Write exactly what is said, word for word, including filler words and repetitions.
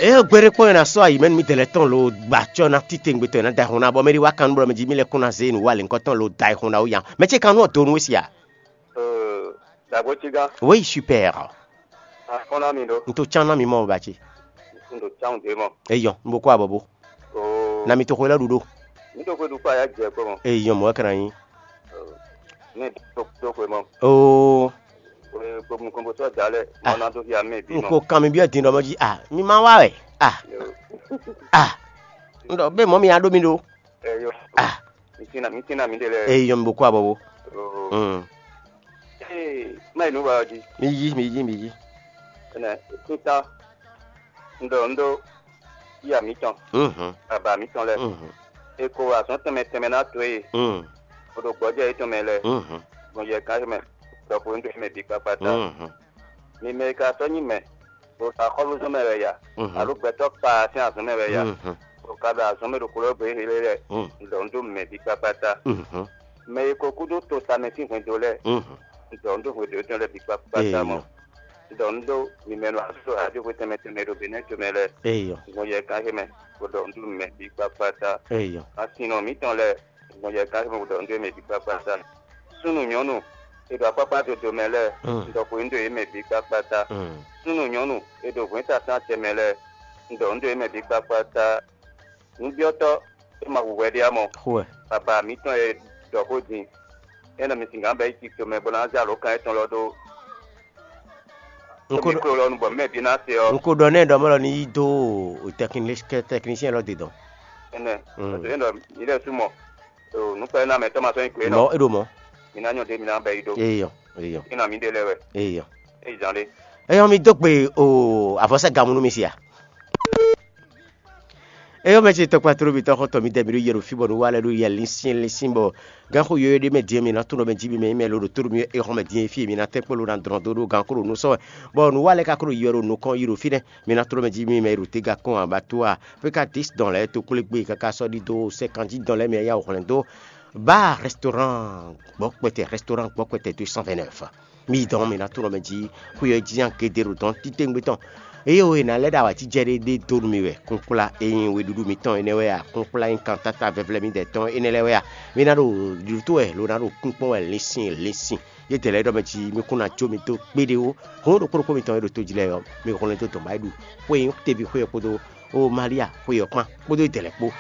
Eye gbeɖé kpɔ́n e ná sɔ́ ayi mɛ nú mì dɛlɛ tɔn lo gba acɔ́ ná titewungbe tɔn e ná da ayihún ná bɔ mɛ ɖi wá kan nú bɔ mɛ jí mì lɛ́ kún ná zé nǔ wa lě ŋkɔ tɔn lo da ayihún ná wú nya. Mɛ ce kan nú ɔ do nú we si a? Dagbo cigán. Oui, super. Akɔn ná mi ɖó. N to cán ná mi mɔ ba ce. N ɖo cán ɖé mɔ. Eyɔn, n bo kó abɔ bo. Oo. Na mi to xwe lɛ ɖu ɖo. Mi ɖo xwe ɖu kpa ya jɛ kpɔ mɔ. Eyɔn, mɔ kana nyi. Ne ɖo ɖo xwe mɔ. Oo. Xwe kpo mu kɔn bo sɔ da lɛ. Ah. Mɔ na do fi amɛ bi N mɔ. Ko kan mi biɔ din ɖɔ mɔ jí. Ah, mi ma wá wɛ. Ah. Yo. Ah. N ɖɔ bɛ mɔ mi ya ɖo mi ɖo. Eyo. Ah. Mi tina mi tina mi ɖe lɛ. Eyɔn, mi bo kó abɔ bo. Oo. Mm. Ee, má yi nú wa ɔ́ jí. Mi yí, mi yí, mi yí. Ɛnɛ, tíntá, un ɖɔ un ɖó yíyá mǐtɔn, Mhm. Baba mǐtɔn lɛ́ɛ. Mhm. È ko azɔ̌ tɛnmɛ tɛnmɛ ná towe, Mm. bó ɖo gbɔjɛ́ yětɔn mɛ lɛ́ɛ, Mhm. gbɔn yɛ gán mɛ, ɖɔkpo un ɖó mɛ bǐ kpákpá ta. Mhm. Mi mɛ e ka sɔ́ nyí mɛ, ɖo axɔ́lúzɔ́n mɛ wɛ ya, Mhm. Alo gbɛtɔ́ kpaa sín azɔ̌ mɛ wɛ ya, Mhm. ɖo ka ɖo azɔ̌ mɛ ɖo xwlɔ́ gbe éhé lɛ́ɛ, Mm. un ɖɔ un ɖó mɛ bǐ kpákpá ta. Mhm. Mɛ e ko kú dó to tamɛ sín hwɛndo lɛ́ɛ, Mhm. un ɖɔ un ɖó hwɛndo étɔn lɛ́ɛ bǐ kpákpá ta mɔ. Eyɔ. Un ɖɔ un ɖó mimɛ nɔ azɔ̌ ɖo aɖóxwé tɛnmɛ tɛnmɛ ɖo Benɛ́ tomɛ lɛ́ɛ, Eyɔ. Gbɔn yɛ gán éhé mɛ, bó ɖɔ un ɖó mɛ bǐ kpákpá ta. Eyɔ. Asin nɔ mǐtɔn lɛ́ɛ, gbɔn yɛ gán éhé mɛ, bó ɖɔ un ɖó mɛ bǐ kpákpá ta. Súnnu nyɔ̌nu e ɖo akpákpá dodo mɛ lɛ́ɛ, Mm. un ɖɔ xwe un ɖó yě mɛ bǐ kpákpá ta. Mm. Súnnu nyɔ̌nu e ɖo hwɛ̌ntatán tɛnmɛ lɛ́ɛ, un ɖɔ un ɖó yě mɛ bǐ kpákpá ta. Nǔbyɔ́tɔ́ e ma hu hwɛ ɖé ǎ mɔ, Xwɛ. Baba mǐtɔn e ɖɔ xó din, é nɔ mi singǎn bɛ́ yi tito mɛ bó ná zé alǒkan étɔn lɔ ɖó N ko ɖɔ- micro lɔ nu bɔ mɛ bǐ ná se ɔ́. N ko ɖɔ nɛ ɖɔ mɔ lɔ ní yi dó tɛknisiyɛn lɔ dedɔn. Ɛnɛ, Mm. Parce que é nɔ mi lɛ́ sú mɔ, nǔkpɛ́nɔ́ mɛ tɔn ma sɔ́ nyi kwe nɔ. Mɔ é ɖo mɔ. Mi ná nyɔ ɖe mi ná bɛ́ yi ɖó. Eyɔ, eyɔ, É nɔ mi ɖe lɛ́ wɛ. Eyɔ. É yi zán ɖé. Eyɔ, mi dó gbe o avɔsɛ gamu nú mi sia. Eyɔ, mɛ ce tɔkpa tló mitɔn xɔtɔn mi dɛ mi ɖo yɛ ɖo fí bɔ nǔ wa lɛ ɖo yɛ linsin linsin bɔ gánxó yɔyɔ ɖé mɛ din mi ná tunɔ mɛ jí mi mɛ nyí mɛ lo ɖo tóɖo mi é xɔn mɛ din fí mi ná tɛ́ kpó lo ná drɔn dó ɖó gánxó ɖo nú sɔ́ wɛ. Bɔ nǔ wa lɛ ka kó ɖo yɔ ɖo nukɔn yi ɖo fínɛ́ mi ná tló mɛ jí mi mɛ ɖo téga kɔn abató a pé ka dis dɔn lɛ́ɛ to kplé gbé kaka sɔ́ ɖi dó sɛ́kan jí dɔn lɛ́ɛ mɛ yá wɔ hwlɛ́n dó. Bar restaurant gbɔkpɛtɛ, restaurant gbɔkpɛtɛ deux cent vingt-neuf. Mi dɔn mi ná tunɔ mɛ jí xwé ɔ́ jí nya gédé ɖo dɔn títewungbe tɔn. Eye o è nǎ lɛ́ ɖo awǎjijɛ ɖé ɖé dó nú mi wɛ kúnkplá e nyí weɖúɖú mitɔn énɛ́ wɛ a, kúnkplá e nyí kantáta vɛvlɛ́ midɛɛ tɔn énɛ́ lɛ́ɛ wɛ a, mi ná ɖo ɖuɖu wɛ lo ná ɖo kúnkpɔ́n wɛ linsin linsin. Yě dɛ̌ lɛ́ɛ ɖɔ mɛ jí mi kún ná jó mi dó kpéɖé ó. Hǔn ɖokpó ɖokpó mitɔn e ɖo tó jí lɛ́ɛ ɔ́, mi hwlɛ́n dó dɔn bá yi ɖu xwé e nyí teví xwé ɔ́ kpódó ó Malia xwé ɔ́ kpán kpódó yě dɛ̌ lɛ́ɛ kpó.